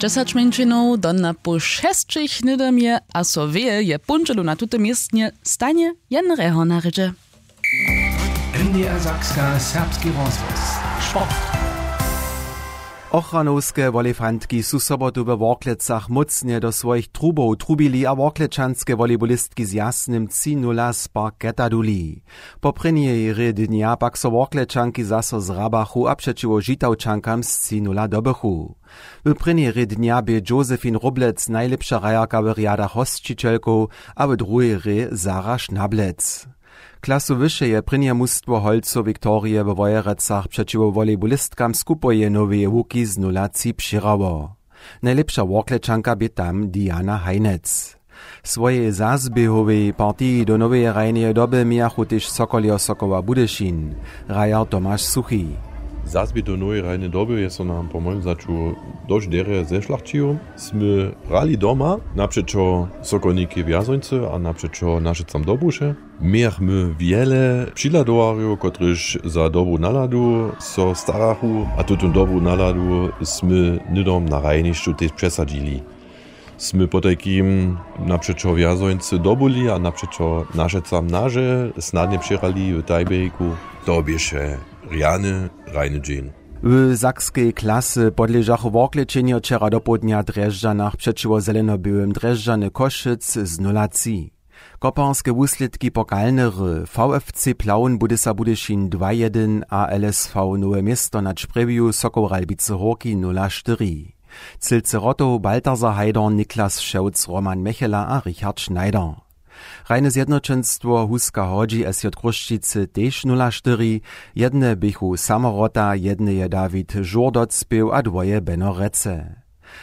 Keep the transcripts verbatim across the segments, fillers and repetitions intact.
Dźesać mjeńšinow do na poł šesćich hnydom je a so wěje je póndźelu na tutym městnje stanje jen rjehor na rědźe. N D R Sakska, serbski rozhłos. Sport. Ochranowske wolejfantki su sobotu we Worklecach mócnje do swojich trubow trubili a worklečanske wolejbolistki z Jasnym tři nula z parketa duli. Po prěnjej hrě dnja pak so worklečanki zaso zhrabachu a přećiwo žitawčankam z tři nula dobychu. W prěnjej hrě dnja bě Josephine Roblec najlěpša hrajerka w rjadach hosćićelkow a w druhej hrě Sara Šnablec. Klasu wyše je prěnje mustwo holcow Viktorije we Wojerecach přećiwo wolejbolistkam z Kupoje Noweje Łuki z nula tři přěhrało. Najlěpša worklečanka bě tam Diana Hajnec. Swojej zazběhowej partiji do noweje hrajneje doby mějachu tež Sokoljeho Sokoła Budyšin, hrajar Tomaš Suchi. Zazběh do noweje hrajneje doby je so nam po mojim wzaću dosć derje zešlachćił. Smy hrali doma napřećo Sokolnikej Wjazońcy a napřećo Našecam Dobruše. Mějachmy wjele přihladowarjow, kotryž za dobru naladu so starachu, a tutón dobru naladu smy hnydom na hrajnišću tež přesadźili. Smy potajkim napřećo Wjazońcy dobyli a napřećo Našecam naže snadnje přehrali w tiebreaku. To běše rjany hrajny dźeń. W sakskej klasy podležachu worklećenjo wčera dopołdnja w Drježdźanach přećiwo Zeleno-běłym Drježdźany Košyc z nula tři. Koparske wuslědki pokalnery: V F C Plaun Budysa Budyšin dwa jedyn a L S V Nowe Město na Čprjewju Sokoł Ralbicy Hórki nula štyri. Cylce Rotow, Balthasar Hajdorn, Niklas Šewc, Roman Mechela a Richard Schneider. Hrajne zjednoćenstwo Huska Hodźi S J Chrósćicy tež nula štyri, jedne běchu Samorota, jedne je Dawid Žur docpěł a dwoje Beno Rece.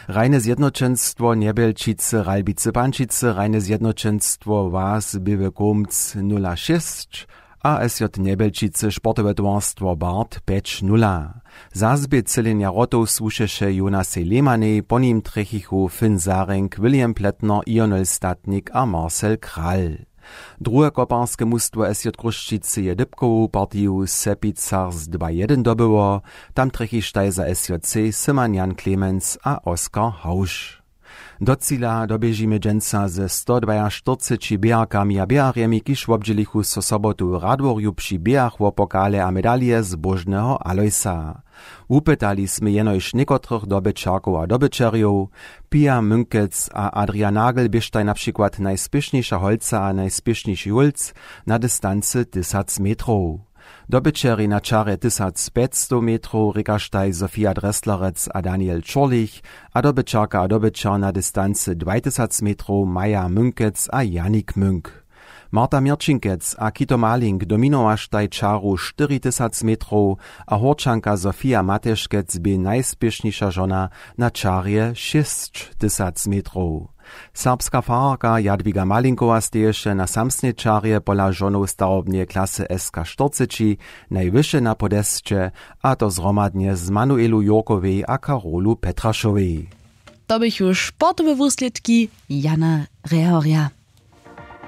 Hrajne zjednoćenstwo Njebjelčicy Ralbicy Pančicy, hrajne zjednoćenstwo Was Běły Kómc nula šěsć a S J Njebjelčicy sportowe towarstwo Bart pjeć nula. Zazběh cylenja Rotow słušeše Jonasej Lehmanej, po nim trjechichu Finn Zarink, William Plätner, Ionel Statnik a Marcel Kral. Druhe koparske mustwo S J Chrósćicy je dypkowu partiju w Sepicach z dwa jedyn dobyło, tam trjechištaj za S J C Syman Jan Clemens a Oskar Hausch. Do cila doběžimy dźensa ze stodwajaštyrceći běharkami a běharjemi, kiž wobdźělichu so sobotu w Radworju při běhach wo pokale a medalije zbóžneho Alojsa. Wupytali smy jenož někotrych dobyćerkow a dobyćerjow. Pia Mynkec a Adrian Nagel běštaj na přikład najspěšnjejša holca a najspěšnjejši hólc na distancy tysac metrow. Dobyćerjej na čarje tysac pjećstow metrow rěkaštaj Sofia Dresslerec a Daniel Čurlich a dobyćerka a dobyćer na distancy dwaj tysac metrow Maja Mynkec a Janik Münk. Marta Měrćinkec a Kito Malink dominowaštaj čaru štyri tysac metrow a Hórčanka Sofia Mateškec bě najspěšnjejša žona na čarje šěsć tysac metrow. Serbska fararka Jadwiga Malinkowa steješe na samsnej čarje pola žonow starobneje klasy S K štyrceći najwyše na podesće, a to zhromadnje z Manuelu Jurkowej a Karolu Petrašowej. To běchu sportowe wuslědki Jana Rehorja.